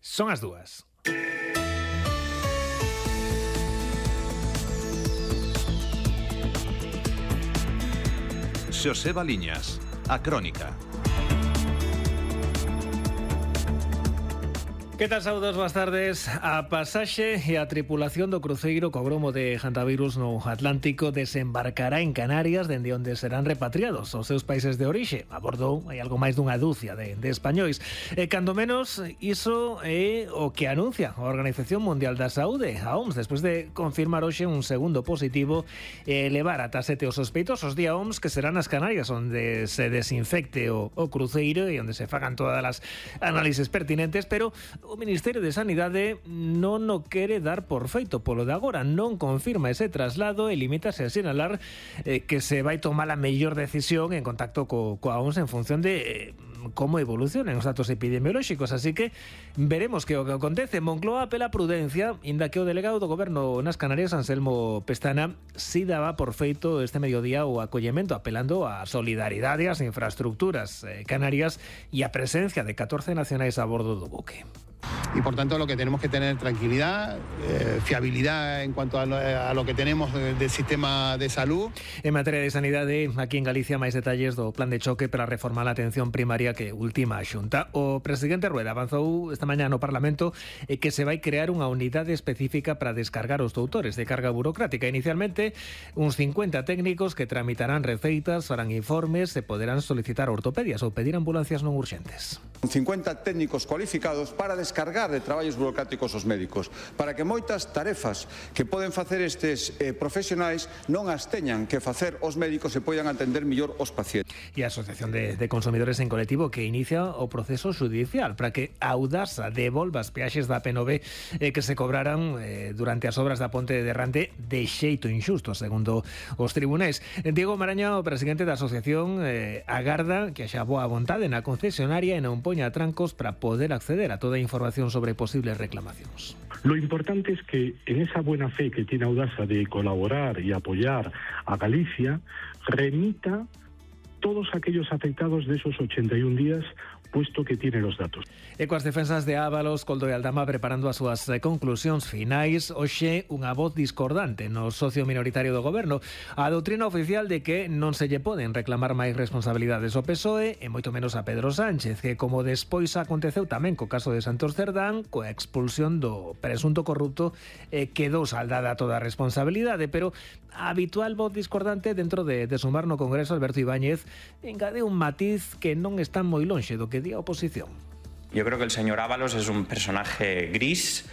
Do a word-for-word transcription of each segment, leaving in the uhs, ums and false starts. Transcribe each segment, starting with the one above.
Son as dúas. Xosé Baliñas, a Crónica. Que tal, saúdos, boas tardes. A pasaxe e a tripulación do cruceiro co gromo de Hantavirus no Atlántico desembarcará en Canarias, dende onde serán repatriados aos seus países de orixe. A bordo hai algo máis dunha dúcia de, de españois. E cando menos, iso é o que anuncia a Organización Mundial da Saúde, a O M S, despois de confirmar hoxe un segundo positivo e elevar ata sete os sospeitosos. Día O M S que serán as Canarias, onde se desinfecte o, o cruceiro e onde se fagan todas as análises pertinentes, pero o Ministerio de Sanidade non o quere dar por feito polo de agora, non confirma ese traslado e limítase a sinalar eh, que se vai tomar a mellor decisión en contacto co, coa O M S en función de eh, como evolucionen os datos epidemiolóxicos, así que veremos que o que acontece. Moncloa apela a prudencia, inda que o delegado do Goberno nas Canarias, Anselmo Pestana, si daba por feito este mediodía o acollemento, apelando a solidaridade, as infraestructuras eh, canarias e a presencia de catorce nacionais a bordo do buque. Y por tanto lo que tenemos que tener tranquilidad, eh, fiabilidad en cuanto a lo, a lo que tenemos del de sistema de salud. En materia de sanidade, aquí en Galicia, máis detalles do plan de choque para reformar a atención primaria que última a Xunta. O presidente Rueda avanzou esta mañá no Parlamento eh, que se vai crear unha unidade específica para descargar os doutores de carga burocrática. Inicialmente, uns cincuenta técnicos que tramitarán receitas, farán informes e poderán solicitar ortopedias ou pedir ambulancias non urxentes. cincuenta técnicos cualificados para descargar de traballos burocráticos aos médicos, para que moitas tarefas que poden facer estes eh, profesionais non as teñan que facer os médicos e poidan atender mellor os pacientes. E a Asociación de, de Consumidores en Colectivo que inicia o proceso judicial para que Audasa devolva as peaxes da P N V eh, que se cobraran eh, durante as obras da Ponte de Derrante de xeito injusto, segundo os tribunais. Diego Maraña, o presidente da asociación, eh, agarda que haxa boa vontade na concesionaria e non poña trancos para poder acceder a toda a información sobre posibles reclamacións. Lo importante es que en esa buena fe que tiene Audasa de colaborar y apoyar a Galicia, remita todos aquellos afectados de esos ochenta y un días, puesto que tiene los datos. E coas defensas de Ábalos, Coldo e Aldama preparando as súas conclusións finais, hoxe unha voz discordante no socio minoritario do goberno. A doutrina oficial de que non se lle poden reclamar máis responsabilidades ao P S O E e moito menos a Pedro Sánchez, que como despois aconteceu tamén co caso de Santos Cerdán, coa expulsión do presunto corrupto, eh, quedou saldada toda a responsabilidade, pero a habitual voz discordante dentro de, de sumar no Congreso, Alberto Ibáñez, engade un matiz que non está moi lonxe do que di a oposición. Yo creo que el señor Ábalos es un personaje gris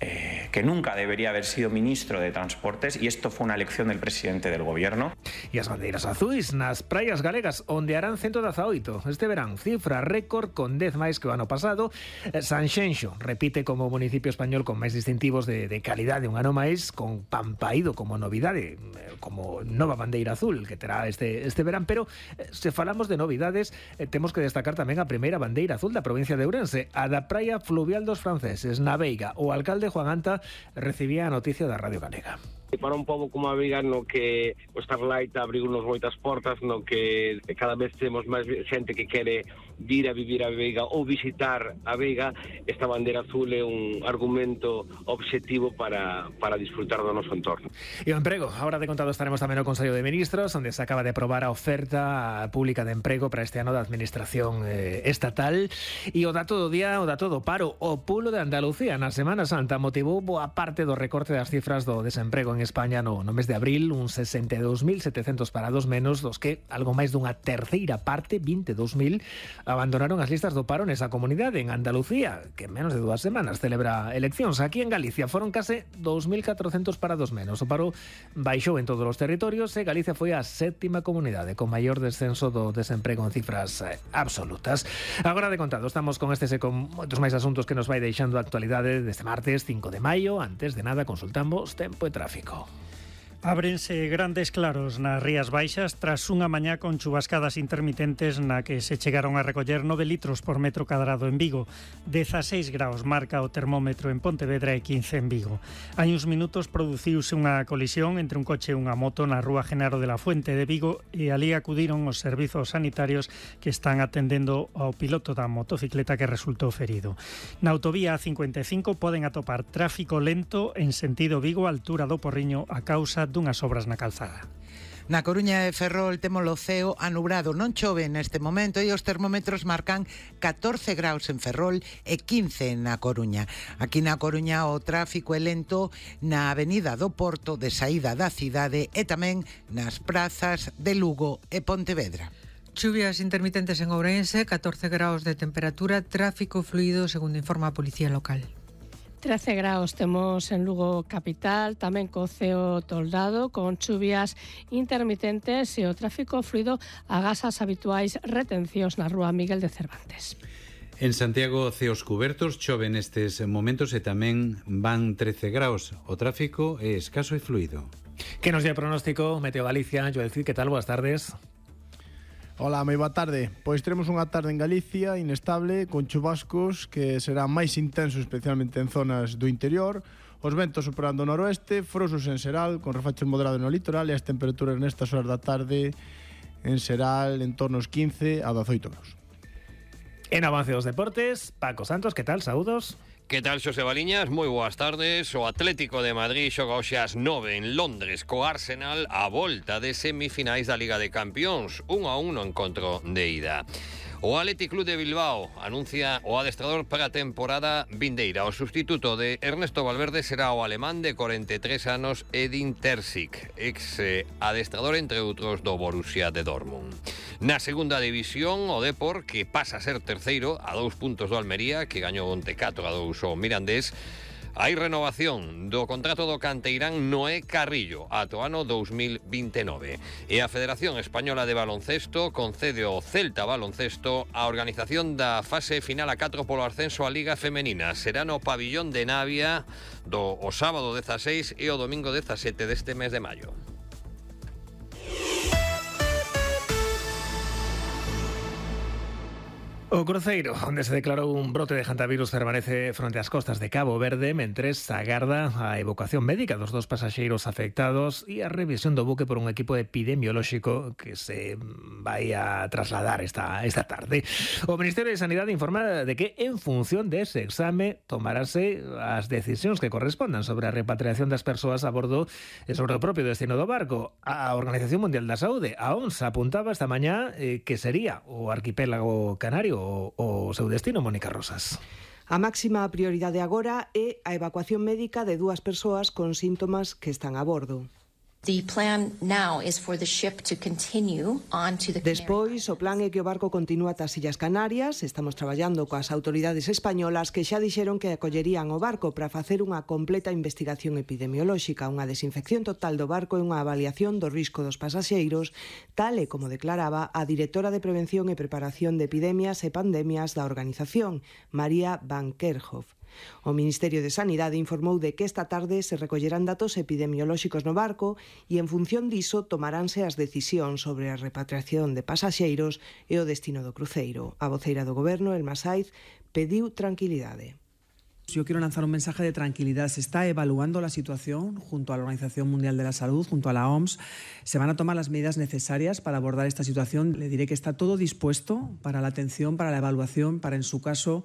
eh, que nunca debería haber sido ministro de Transportes, y esto fue una elección del presidente del gobierno. E as bandeiras azuis nas praias galegas ondearán ciento dezaoito este verán, cifra récord con dez máis que o ano pasado. Sanxenxo repite como municipio español con máis distintivos de, de calidade un ano máis, con Pampaído como novidade, como nova bandeira azul que terá este, este verán, pero se falamos de novidades, eh, temos que destacar tamén a primeira bandeira azul da provincia de Ourense, a da praia fluvial dos franceses, na Veiga. O alcalde Juan Anta recibía a noticia da Radio Galega. Para un pobo como a Veiga, no que o Starlight abriu nos moitas portas, no que cada vez temos máis xente que quere vir a vivir a Veiga ou visitar a Veiga, esta bandeira azul é un argumento objetivo para, para disfrutar do noso entorno. E o emprego, agora de contado estaremos tamén no Consello de Ministros, onde se acaba de aprobar a oferta pública de emprego para este ano da Administración eh, estatal. E o dato do día, o dato do paro, o pulo de Andalucía na Semana Santa motivou boa parte do recorte das cifras do desemprego en España no, no mes de abril, uns sesenta e dous mil setecentos parados menos, dos que algo máis dunha terceira parte, vinte e dous mil, abandonaron as listas do paro nesa comunidade. En Andalucía, que en menos de dúas semanas celebra eleccións. Aquí en Galicia foron case dous mil catrocentos parados menos. O paro baixou en todos os territorios e Galicia foi a sétima comunidade con maior descenso do desemprego en cifras eh, absolutas. Agora de contado, estamos con estes e con moitos máis asuntos que nos vai deixando a actualidade deste martes cinco de maio. Antes de nada, consultamos tempo e tráfico. Ábrense grandes claros nas Rías Baixas tras unha mañá con chubascadas intermitentes na que se chegaron a recoller nove litros por metro cadrado en Vigo. dezaseis graus marca o termómetro en Pontevedra e quince en Vigo. Hai uns minutos produciuse unha colisión entre un coche e unha moto na rúa Genaro de la Fuente de Vigo e ali acudiron os servizos sanitarios que están atendendo ao piloto da motocicleta que resultou ferido. Na autovía A cincuenta e cinco poden atopar tráfico lento en sentido Vigo a altura do Porriño a causa dunhas obras na calzada. Na Coruña e Ferrol temos o ceo anubrado, non chove neste momento e os termómetros marcan catorce graus en Ferrol e quince na Coruña. Aquí na Coruña o tráfico é lento na avenida do Porto de saída da cidade e tamén nas prazas de Lugo e Pontevedra. Chuvias intermitentes en Ourense, catorce graus de temperatura, tráfico fluido, segundo informa a Policía Local. trece graus temos en Lugo capital, tamén co ceo toldado, con chuvias intermitentes e o tráfico fluido agás as habituais retencións na rúa Miguel de Cervantes. En Santiago, ceos cubertos, chove nestes momentos e tamén van trece graus. O tráfico é escaso e fluido. Que nos lle pronóstico Meteo Galicia? Joel Cid, que tal? Boas tardes. Ola, moi boa tarde. Pois teremos unha tarde en Galicia inestable, con chubascos que serán máis intensos especialmente en zonas do interior, os ventos superando o noroeste, frosos en Seral, con refachos moderados no litoral e as temperaturas nestas horas da tarde en Seral en torno aos quince a dezaoito graus. En avance dos deportes, Paco Santos, que tal? Saúdos. Que tal, Xosé Baliñas? Moi boas tardes. O Atlético de Madrid xoga hoxe ás nove en Londres co Arsenal a volta de semifinais da Liga de Campións, un a un no encontro de ida. O Athletic Club de Bilbao anuncia o adestrador para a temporada vindeira. O sustituto de Ernesto Valverde será o alemán de corenta e tres anos Edin Terzic, ex eh, adestrador entre outros do Borussia de Dortmund. Na segunda división, o Depor, que pasa a ser terceiro a dous puntos do Almería, que gañou onte catro a dous o Mirandés. Hai renovación do contrato do canteirán Noé Carrillo ata o ano dous mil vinte e nove. E a Federación Española de Baloncesto concede ao Celta Baloncesto a organización da fase final a catro polo ascenso á Liga Femenina. Será no pabillón de Navia do o sábado dezaseis e o domingo dezasete deste mes de maio. O cruceiro, onde se declarou un brote de hantavirus, permanece fronte ás costas de Cabo Verde, mentres agarda a evacuación médica dos dos pasaxeiros afectados e a revisión do buque por un equipo epidemiolóxico que se vai a trasladar esta, esta tarde. O Ministerio de Sanidade informa de que, en función dese exame, tomarase as decisións que correspondan sobre a repatriación das persoas a bordo e sobre o propio destino do barco. A Organización Mundial da Saúde, a O M S, apuntaba esta mañá eh, que sería o arquipélago canario o, o seu destino, Mónica Rosas. A máxima prioridade agora é a evacuación médica de dúas persoas con síntomas que están a bordo. Despois, o plan é que o barco continúe ata as Illas Canarias. Estamos traballando coas autoridades españolas que xa dixeron que acollerían o barco para facer unha completa investigación epidemiolóxica, unha desinfección total do barco e unha avaliación do risco dos pasaxeiros, tal e como declaraba a directora de Prevención e Preparación de Epidemias e Pandemias da organización, María Van Kerkhoff. O Ministerio de Sanidade informou de que esta tarde se recollerán datos epidemiolóxicos no barco e, en función diso, tomaránse as decisións sobre a repatriación de pasaxeiros e o destino do cruceiro. A voceira do Goberno, Elma Saiz, pediu tranquilidade. Yo quiero lanzar un mensaje de tranquilidad. Se está evaluando la situación junto a la Organización Mundial de la Salud, junto a la O M S. Se van a tomar las medidas necesarias para abordar esta situación. Le diré que está todo dispuesto para la atención, para la evaluación, para, en su caso,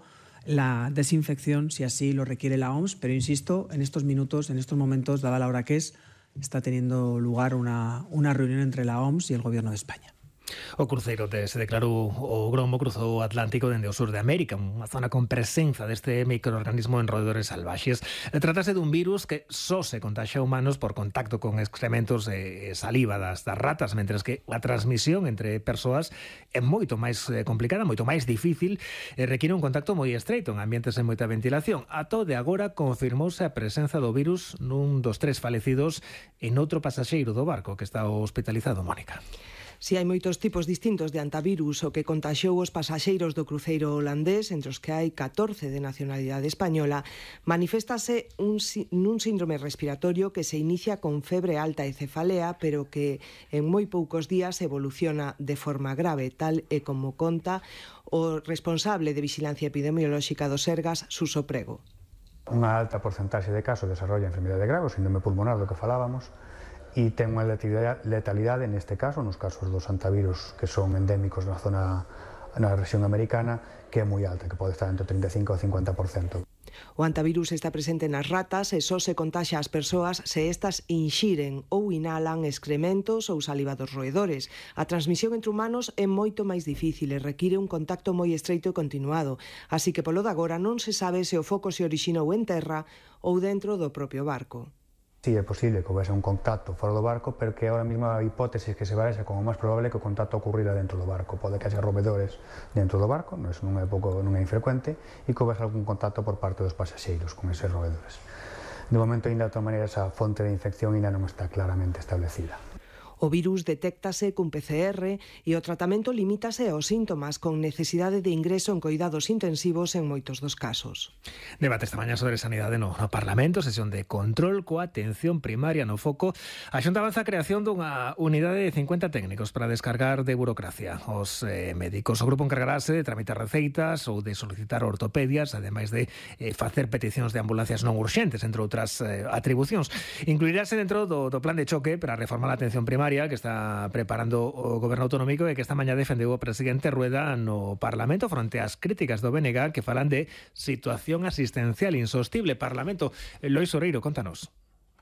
la desinfección, si así lo requiere la O M S, pero insisto, en estos minutos, en estos momentos, dada la hora que es, está teniendo lugar una, una reunión entre la O M S y el Gobierno de España. O cruceiro de, se declarou o gromo cruzou o Atlántico dende o sur de América, unha zona con presenza deste microorganismo en roedores salvaxes. Trátase dun virus que só se contaxia a humanos por contacto con excrementos e saliva das, das ratas, mentres que a transmisión entre persoas é moito máis complicada, moito máis difícil, e requiere un contacto moi estreito en ambientes en moita ventilación. Ata de agora confirmouse a presenza do virus nun dos tres falecidos e noutro pasaxeiro do barco que está hospitalizado, Mónica. Si hai moitos tipos distintos de antivirus o que contaxiou os pasaxeiros do cruceiro holandés, entre os que hai catorce de nacionalidade española, maniféstase un, nun síndrome respiratorio que se inicia con febre alta e cefalea, pero que en moi poucos días evoluciona de forma grave, tal e como conta o responsable de Vigilancia Epidemiolóxica do Sergas, Suso Prego. Unha alta porcentaxe de casos desarrolla enfermidade grave, o síndrome pulmonar do que falábamos, e ten unha letalidade neste caso, nos casos dos antivirus que son endémicos na zona, na rexión americana, que é moi alta, que pode estar entre o trinta e cinco e o cincuenta por cento. O antivirus está presente nas ratas e só se contaxa ás persoas se estas inxiren ou inhalan excrementos ou saliva dos roedores. A transmisión entre humanos é moito máis difícil e require un contacto moi estreito e continuado, así que polo de agora non se sabe se o foco se orixinou en terra ou dentro do propio barco. Sí, é posible que houvese un contacto fora do barco, pero que ahora mesmo a hipótesis que se baixa como máis probable que o contacto ocurrira dentro do barco. Pode que haxa roedores dentro do barco, non é pouco, non é infrecuente, e que houvese algún contacto por parte dos pasaxeiros con eses roedores. De momento, ainda de toda maneira, esa fonte de infección ainda non está claramente establecida. O virus detéctase cun P C R e o tratamento limítase aos síntomas con necesidade de ingreso en coidados intensivos en moitos dos casos. Debate esta mañá sobre sanidade no, no Parlamento, sesión de control coa atención primaria no foco. A Xunta avanza a creación dunha unidade de cincuenta técnicos para descargar de burocracia os eh, médicos. O grupo encargarase de tramitar receitas ou de solicitar ortopedias, ademais de eh, facer peticións de ambulancias non urxentes, entre outras eh, atribucións. Incluirase dentro do, do plan de choque para reformar a atención primaria que está preparando o Goberno Autonómico e que esta mañá defendeu o presidente Rueda no Parlamento fronte ás críticas do B N G que falan de situación asistencial insostible. Parlamento, Lois Oreiro, contanos.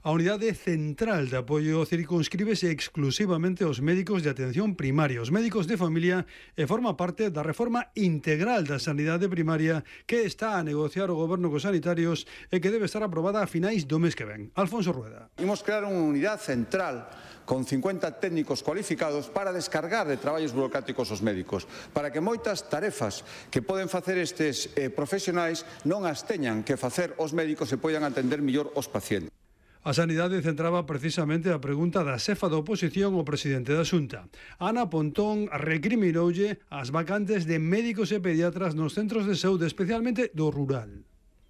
A unidade central de apoio circunscríbese exclusivamente aos médicos de atención primaria, os médicos de familia, e forma parte da reforma integral da sanidade primaria que está a negociar o Goberno cos sanitarios e que debe estar aprobada a finais do mes que ven. Alfonso Rueda. Imos crear unha unidade central con cincuenta técnicos cualificados para descargar de traballos burocráticos os médicos, para que moitas tarefas que poden facer estes eh, profesionais non as teñan que facer os médicos e poidan atender mellor os pacientes. A Sanidade centraba precisamente a pregunta da xefa da oposición ao presidente da Xunta. Ana Pontón recriminoulle as vacantes de médicos e pediatras nos centros de saúde, especialmente do rural.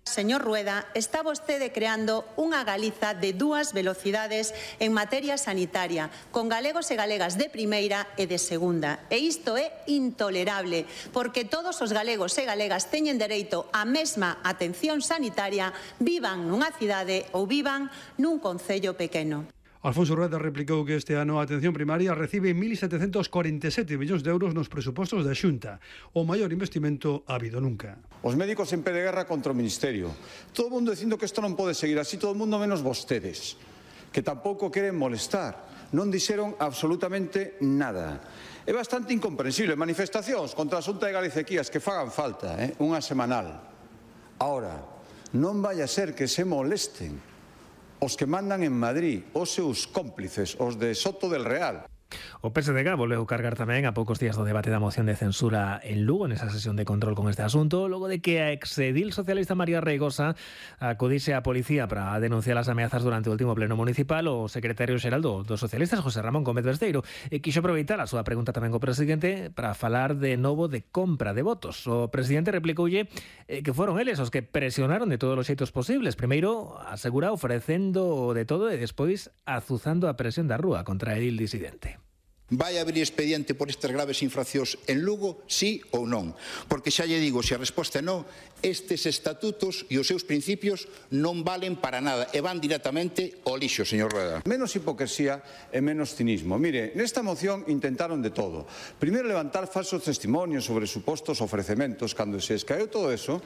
Señor Rueda, está vostede creando unha Galiza de dúas velocidades en materia sanitaria, con galegos e galegas de primeira e de segunda. E isto é intolerable, porque todos os galegos e galegas teñen dereito á mesma atención sanitaria, vivan nunha cidade ou vivan nun concello pequeno. Alfonso Rueda replicou que este ano a atención primaria recibe mil setecentos cuarenta e sete millóns de euros nos presupostos da Xunta, o maior investimento habido nunca. Os médicos en pé de guerra contra o Ministerio. Todo o mundo dicindo que isto non pode seguir así, todo o mundo menos vostedes, que tampouco queren molestar. Non dixeron absolutamente nada. É bastante incomprensible. Manifestacións contra a Xunta de Galicequías que fagan falta, eh? unha semanal. Ahora, non vai a ser que se molesten os que mandan en Madrid, os seus cómplices, os de Soto del Real. O P S D G volveu cargar tamén a poucos días do debate da moción de censura en Lugo nesa sesión de control con este asunto, logo de que a exedil socialista María Reigosa acudise á policía para denunciar as ameazas durante o último pleno municipal. O secretario xeral do, dos socialistas, José Ramón Gómez Besteiro, e quixo aproveitar a súa pregunta tamén co presidente para falar de novo de compra de votos. O presidente replicoulle eh, que foron eles os que presionaron de todos os xeitos posibles. Primeiro, asegura, ofrecendo de todo e despois azuzando a presión da rúa contra a edil disidente. Vai abrir expediente por estas graves infraccións en Lugo, sí ou non? Porque xa lle digo, se a resposta é non, estes estatutos e os seus principios non valen para nada e van directamente ao lixo, señor Rueda. Menos hipocresía e menos cinismo. Mire, nesta moción intentaron de todo. Primeiro levantar falsos testimonios sobre supostos ofrecementos. Cando se escaeu todo eso,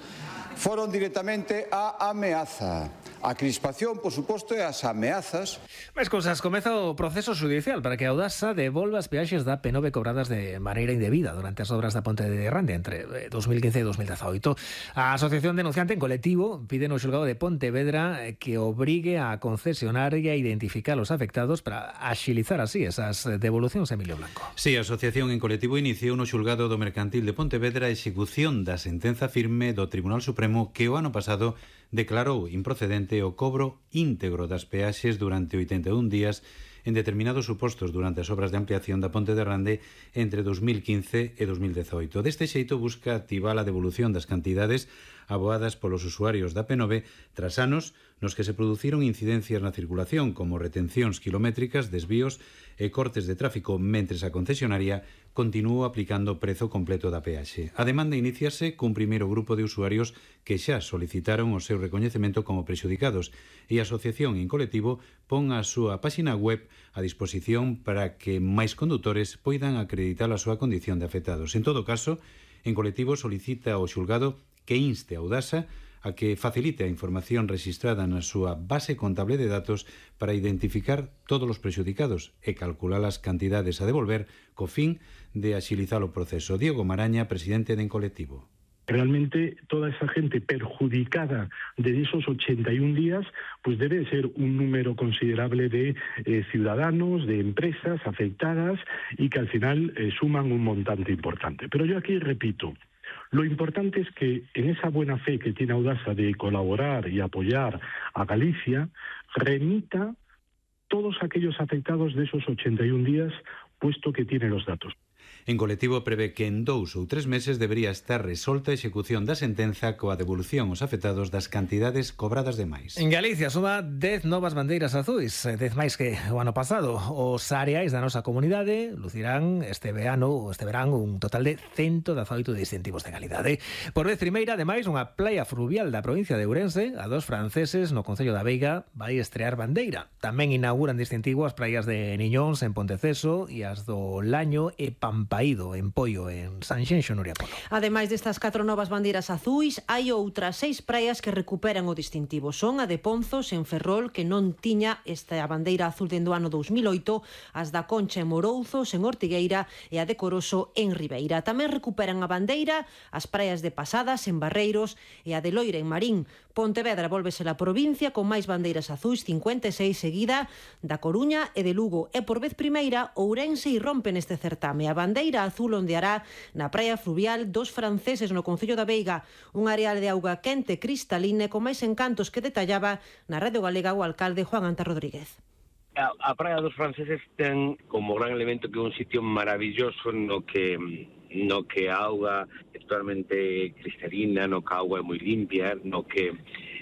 foron directamente á ameaza. A crispación, por suposto, e as ameazas. Mais cousas, comeza o proceso judicial para que a Audasa devolva as peaxes da P nove cobradas de maneira indebida durante as obras da Ponte de Rande entre dos mil quince e dos mil dezaoito. A Asociación Denunciante en colectivo pide no xulgado de Pontevedra que obrigue a concesionaria a identificar os afectados para axilizar así esas devolucións, Emilio Blanco. Sí, a Asociación en colectivo iniciou no xulgado do Mercantil de Pontevedra a execución da sentenza firme do Tribunal Supremo que o ano pasado declarou improcedente o cobro íntegro das peaxes durante oitenta e un días en determinados supostos durante as obras de ampliación da Ponte de Rande entre dos mil quince e dos mil dezoito. Deste xeito busca activar a devolución das cantidades aboadas polos usuarios da P nove tras anos nos que se produciron incidencias na circulación como retencións kilométricas, desvíos e cortes de tráfico mentres a concesionaria continuou aplicando o prezo completo da peaxe. A demanda iníciase cun primeiro grupo de usuarios que xa solicitaron o seu recoñecemento como prexudicados e a asociación en colectivo pon a súa páxina web a disposición para que máis condutores poidan acreditar a súa condición de afectados. En todo caso, en colectivo solicita ao xulgado que inste a Audasa a que facilite a información registrada na súa base contable de datos para identificar todos os prexudicados e calcular as cantidades a devolver co fin de axilizar o proceso. Diego Maraña, presidente de En Colectivo. Realmente toda esa gente perjudicada de esos ochenta y un días, pues debe ser un número considerable de eh, ciudadanos, de empresas afectadas y que al final eh, suman un montante importante. Pero yo aquí repito, lo importante es que en esa buena fe que tiene Audasa de colaborar y apoyar a Galicia, remita todos aquellos afectados de esos ochenta y un días, puesto que tiene los datos. En Colectivo prevé que en dous ou tres meses debería estar resolta a execución da sentenza coa devolución aos afectados das cantidades cobradas de máis. En Galicia suma dez novas bandeiras azuis, dez máis que o ano pasado. Os areais da nosa comunidade lucirán este verano, este verán un total de ciento dezaoito distintivos de calidade. Por vez primeira, ademais, unha playa fluvial da provincia de Ourense, a dos franceses no concello da Veiga, vai estrear bandeira. Tamén inauguran distintivo as praias de Niñóns en Ponteceso e as do Laño e Pampa Paído, en Poio, en Sanxenxo, Nuria Polo. Ademais destas catro novas bandeiras azuis, hai outras seis praias que recuperan o distintivo. Son a de Ponzos, en Ferrol, que non tiña esta bandeira azul dende o ano dous mil oito, as da Concha en Morouzos, en Ortigueira, e a de Coroso, en Ribeira. Tamén recuperan a bandeira as praias de Pasadas, en Barreiros, e a de Loira, en Marín. Pontevedra volvese a provincia con máis bandeiras azuis, cincuenta e seis seguida da Coruña e de Lugo. E por vez primeira, Ourense irrompe neste certame. A bandeira azul ondeará na praia fluvial dos franceses no concello da Veiga, un areal de auga quente cristalina con máis encantos que detallaba na Radio Galega o alcalde Juan Anta Rodríguez. A, a praia dos franceses ten como gran elemento que é un sitio maravilloso no que no que a auga é totalmente cristalina, no que a auga é moi limpia, no que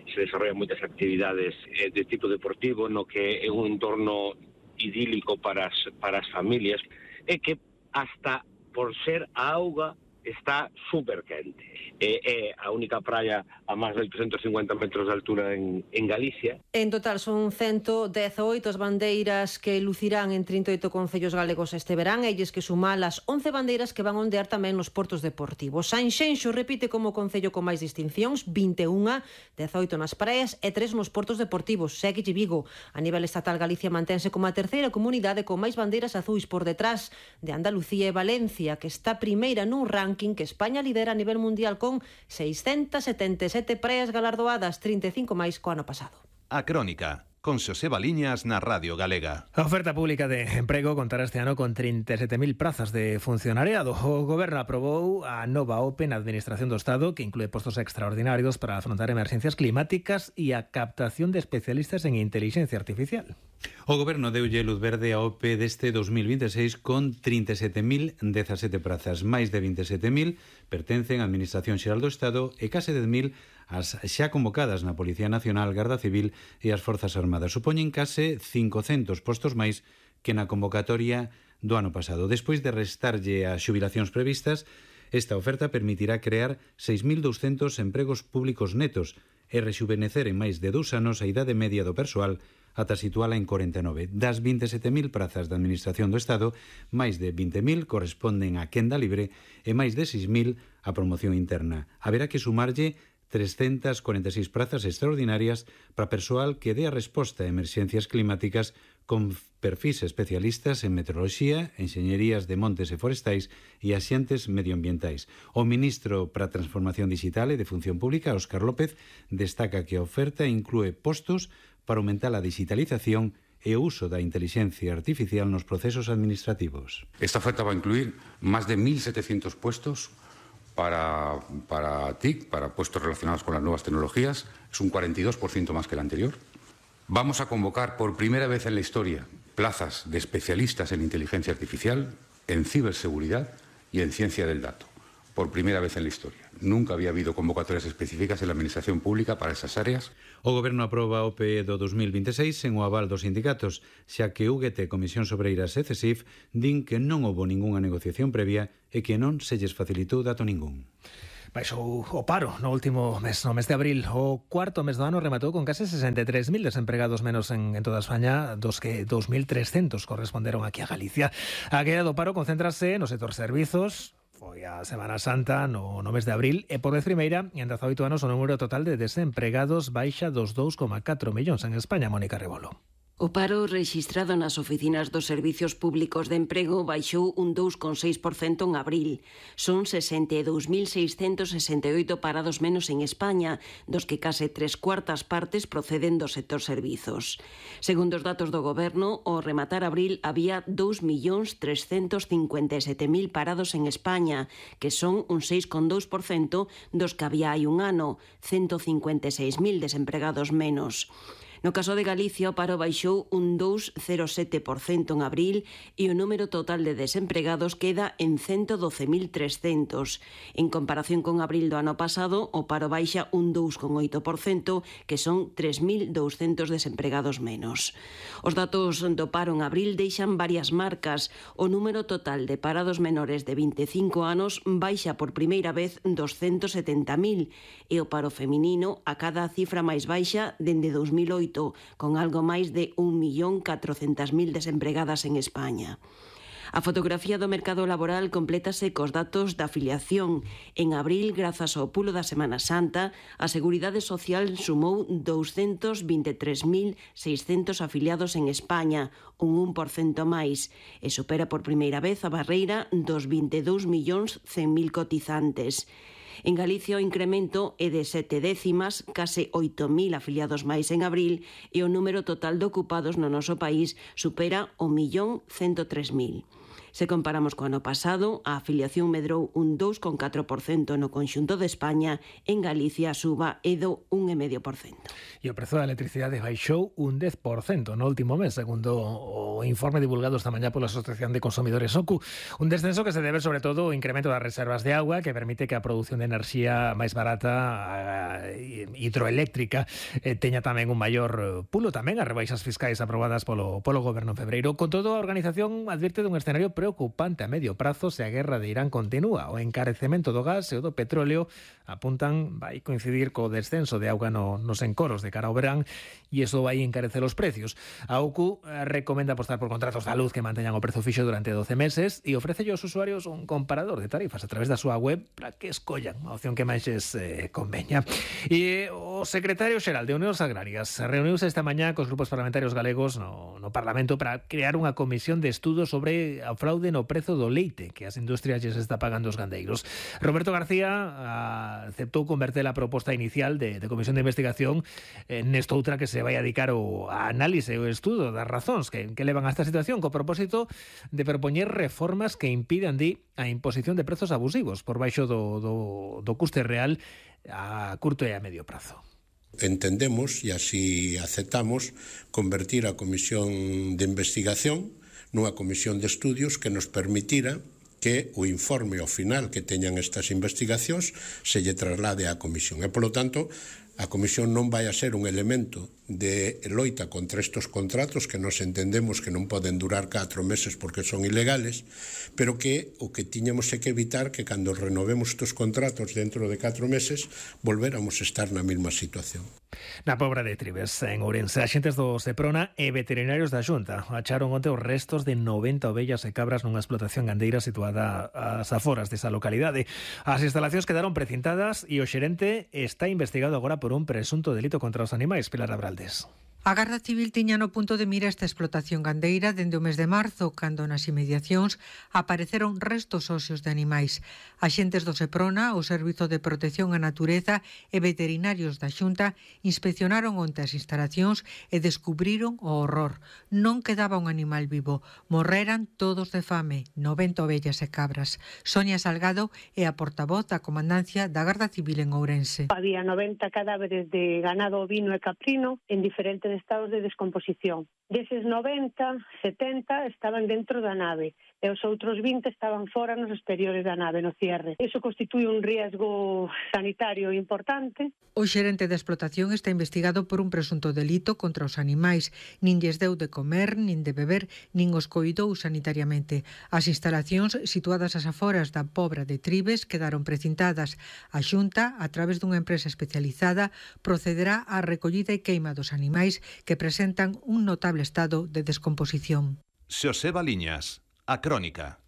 se desarrollan moitas actividades de tipo deportivo, no que é un entorno idílico para as, para as familias, e que hasta por ser a auga está super quente. É, é a única praia a máis de oitocentos cincuenta metros de altura en, en Galicia. En total son ciento dezaoito as bandeiras que lucirán en trinta e oito concellos galegos este verán, e lles que sumar as once bandeiras que van ondear tamén nos portos deportivos. Sanxenxo repite como concello con máis distincións, vinte e unha, dezaoito nas praias e tres nos portos deportivos. Segue Vigo. A nivel estatal, Galicia mantense como a terceira comunidade con máis bandeiras azuis, por detrás de Andalucía e Valencia, que está primeira nun ranking que España lidera a nivel mundial con seiscentas setenta e sete praias galardoadas, trinta e cinco máis co ano pasado. A Crónica, con Xosé Baliñas na Radio Galega. A oferta pública de emprego contará este ano con trinta e sete mil prazas de funcionariado. O Goberno aprobou a nova O P E na Administración do Estado, que inclúe postos extraordinarios para afrontar emerxencias climáticas e a captación de especialistas en inteligencia artificial. O Goberno deulle luz verde a O P E deste dos mil veintiséis con trinta e sete mil dezasete prazas. Máis de vinte e sete mil pertencen á Administración Xeral do Estado e case dez mil as xa convocadas na Policía Nacional, Garda Civil e as Forzas Armadas. Supoñen case cincocentos postos máis que na convocatoria do ano pasado. Despois de restarlle as xubilacións previstas, esta oferta permitirá crear seis mil douscentos empregos públicos netos e rexuvenecer en máis de dous anos a idade media do persoal ata situala en corenta e nove. Das vinte e sete mil prazas da Administración do Estado, máis de vinte mil corresponden a quenda libre e máis de seis mil a promoción interna. Haberá que sumarlle trescentas cuarenta e seis prazas extraordinarias para persoal que dé a resposta a emerxencias climáticas con perfis especialistas en meteoroloxía, enxeñerías de montes e forestais e axentes medioambientais. O ministro para a Transformación Digital e de Función Pública, Óscar López, destaca que a oferta inclúe postos para aumentar a digitalización e o uso da inteligencia artificial nos procesos administrativos. Esta oferta va a incluir máis de mil setecientos puestos para, para T I C, para puestos relacionados con las nuevas tecnologías. Es un cuarenta y dos por ciento más que el anterior. Vamos a convocar por primera vez en la historia plazas de especialistas en inteligencia artificial, en ciberseguridad y en ciencia del dato. Por primera vez en la historia. Nunca había habido convocatorias específicas en la Administración Pública para esas áreas. O Goberno aproba o P E do dos mil vinte e seis sen o aval dos sindicatos, xa que U G T, Comisión Sobreiras e C E S I F din que non houbo ningunha negociación previa e que non se lles facilitou dato ningún. Baixou o paro no último mes, no mes de abril. O cuarto mes do ano rematou con case sesenta e tres mil desempregados menos en, en toda España, dos que dos mil trescentos corresponderon aquí a Galicia. A queda do paro concéntrase no sector servizos. Foi a Semana Santa no, no mes de abril e por vez primeira en dezaoito anos o número total de desempregados baixa dos dous coma catro millóns en España. Mónica Rebolo. O paro rexistrado nas oficinas dos Servicios Públicos de Emprego baixou un dous coma seis por cento en abril. Son sesenta e dous mil seiscentos sesenta e oito parados menos en España, dos que case tres cuartas partes proceden do sector servizos. Segundo os datos do Goberno, ao rematar abril había dous millóns trescentos cincuenta e sete mil parados en España, que son un seis coma dous por cento dos que había hai un ano, ciento cincuenta e seis mil desempregados menos. No caso de Galicia, o paro baixou un dous coma cero sete por cento en abril e o número total de desempregados queda en ciento doce mil trescentos. En comparación con abril do ano pasado, o paro baixa un dous coma oito por cento, que son tres mil douscentos desempregados menos. Os datos do paro en abril deixan varias marcas. O número total de parados menores de vinte e cinco anos baixa por primeira vez doscientos setenta mil e o paro feminino a cada cifra máis baixa dende dos mil oito, con algo máis de un millón catrocentas mil desempregadas en España. A fotografía do mercado laboral complétase cos datos da afiliación. En abril, grazas ao pulo da Semana Santa, a Seguridade Social sumou doscientos vinte e tres mil seiscentos afiliados en España, un un por cento máis, e supera por primeira vez a barreira dos vinte e dous millóns cen mil cotizantes. En Galicia o incremento é de sete décimas, case oito mil afiliados máis en abril, e o número total de ocupados no noso país supera o millón cento tres mil. Se comparamos co ano pasado, a afiliación medrou un dous coma catro por cento no conxunto de España, en Galicia a suba é do un coma cinco por cento. E o prezo da electricidade baixou un dez por cento no último mes, segundo o informe divulgado esta mañá pola Asociación de Consumidores O C U. Un descenso que se debe sobre todo ao incremento das reservas de agua, que permite que a produción de enerxía máis barata, eh, hidroeléctrica, eh, teña tamén un maior pulo, tamén as rebaixas fiscais aprobadas polo, polo Goberno en febreiro. Con todo, a organización advirte dun escenario preocupante a medio prazo se a guerra de Irán continúa. O encarecemento do gas e o do petróleo apuntan vai coincidir co descenso de auga no, nos encoros de cara ao verán e iso vai encarecer os precios. A O C U recomenda apostar por contratos da luz que manteñan o prezo fixo durante doce meses e ofrece aos usuarios un comparador de tarifas a través da súa web para que escollan a opción que máis eh, conveña. E o secretario xeral de Unións Agrarias reuniuse esta mañá cos grupos parlamentarios galegos no, no Parlamento para crear unha comisión de estudo sobre a fraude no prezo do leite que as industrias lles está pagando os gandeiros. Roberto García aceptou converter a proposta inicial de, de comisión de investigación en esta outra que se vai a dedicar ao análise e o estudo das razóns que, que levan a esta situación, co propósito de propoñer reformas que impidan di a imposición de prezos abusivos por baixo do, do, do custe real a curto e a medio prazo. Entendemos, e así aceptamos, convertir a comisión de investigación nunha comisión de estudios que nos permitira que o informe ao final que teñan estas investigacións se lle traslade á comisión. E, polo tanto, a comisión non vai a ser un elemento de loita contra estes contratos que nos entendemos que non poden durar catro meses porque son ilegales, pero que o que tiñamos é que evitar que cando renovemos estes contratos dentro de catro meses volvéramos a estar na mesma situación. Na Pobra de Tribes, en Ourense, axentes do Seprona e veterinarios da Xunta acharon onte os restos de noventa ovellas e cabras nunha explotación gandeira situada ás aforas desa localidade. As instalacións quedaron precintadas e o xerente está investigado agora por un presunto delito contra os animais. Pilar Abraldes. A Garda Civil tiña no punto de mira esta explotación gandeira dende o mes de marzo, cando nas inmediacións apareceron restos óseos de animais. Axentes do Seprona, o Servizo de Protección á Natureza e veterinarios da Xunta inspeccionaron onte as instalacións e descubriron o horror. Non quedaba un animal vivo, morreran todos de fame, noventa ovellas e cabras. Sonia Salgado é a portavoz da Comandancia da Garda Civil en Ourense. Había noventa cadáveres de ganado ovino e caprino en diferentes en estados de descomposición. Deses noventa, setenta estaban dentro da nave e os outros vinte estaban fora nos exteriores da nave, no cierre. Iso constitúe un riesgo sanitario importante. O xerente de explotación está investigado por un presunto delito contra os animais. Nin lles deu de comer, nin de beber, nin os coidou sanitariamente. As instalacións situadas ás aforas da Pobra de Tribes quedaron precintadas. A Xunta, a través dunha empresa especializada, procederá á recollida e queima dos animais que presentan un notable estado de descomposición. Xoseba Liñas, A Crónica.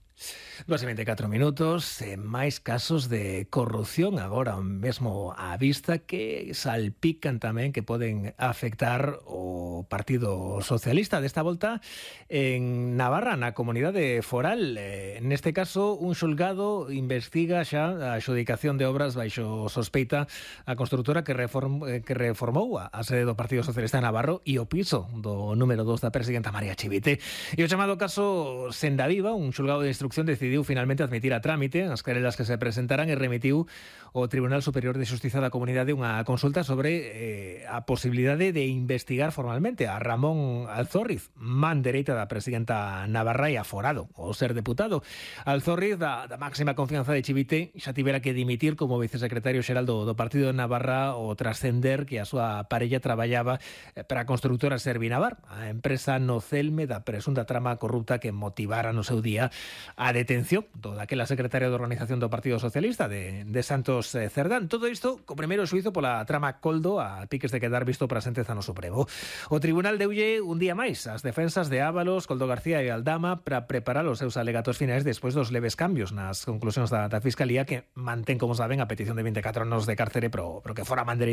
Dos e vinte e catro minutos, e máis casos de corrupción agora mesmo á vista que salpican tamén, que poden afectar o Partido Socialista. Desta volta en Navarra, na comunidade foral. Eh, neste caso, un xulgado investiga xa a adxudicación de obras baixo sospeita a construtora que, reform, que reformou a, a sede do Partido Socialista de Navarro e o piso do número dos da presidenta María Chivite. E o chamado caso Sendaviva, un xulgado de instrucción decidiu finalmente admitir a trámite as querelas que se presentaran e remitiu ao Tribunal Superior de Xustiza da Comunidade unha consulta sobre eh, a posibilidade de investigar formalmente a Ramón Alzorriz, man dereita da presidenta navarra e aforado ao ser deputado. Alzorriz, da, da máxima confianza de Chivite, xa tivera que dimitir como vicesecretario xeral do, do Partido de Navarra o trascender que a súa parella traballaba para a constructora Servinavar, a empresa no celme da presunta trama corrupta que motivara no seu día a detención do daquela secretaria de Organización do Partido Socialista de, de Santos eh, Cerdán. Todo isto co primeiro xuizo pola trama Coldo a piques de quedar visto para a sentenza no Supremo. O tribunal deulle un día máis as defensas de Ábalos, Coldo García e Aldama para preparar os seus alegatos finais despois dos leves cambios nas conclusións da, da Fiscalía, que mantén, como saben, a petición de vinte e catro anos de cárcere pro, pro que fora man dereita